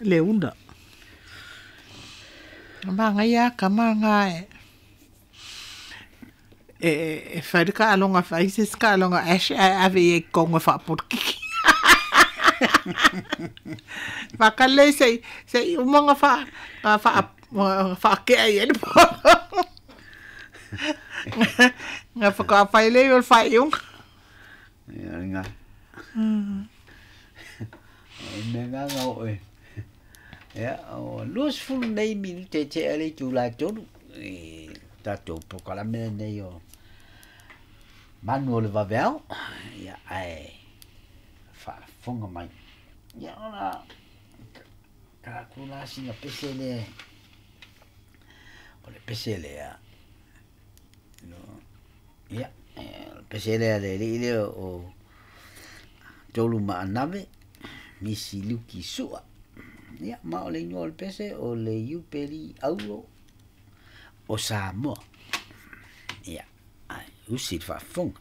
Le una. Manaia lava tama na e fai le taaloga fai se isi taaloga ash ae ave i ai i totonu e faapolokiki. Faatali se i uma ona faatea i ai le polo. Ona faatoa fai lea o le faaiuga. Ia lena. O le mea lena na oo e. Ia, o 20 nei minute e tea le itula e 3 i tatou polokalame lenei o Manu o le Vaveao. Ia, ae faafofoga mai. Ia, ona tala atu la sina pese lea. O le pese lea. No, ia, o le pese lea le alii lea o Tolu Maanave, Misi Luki Sua. Ia, ma o le igoa o le pese o le Iupeli Auro o Samoa. Ia, ai, usi le faafofoga.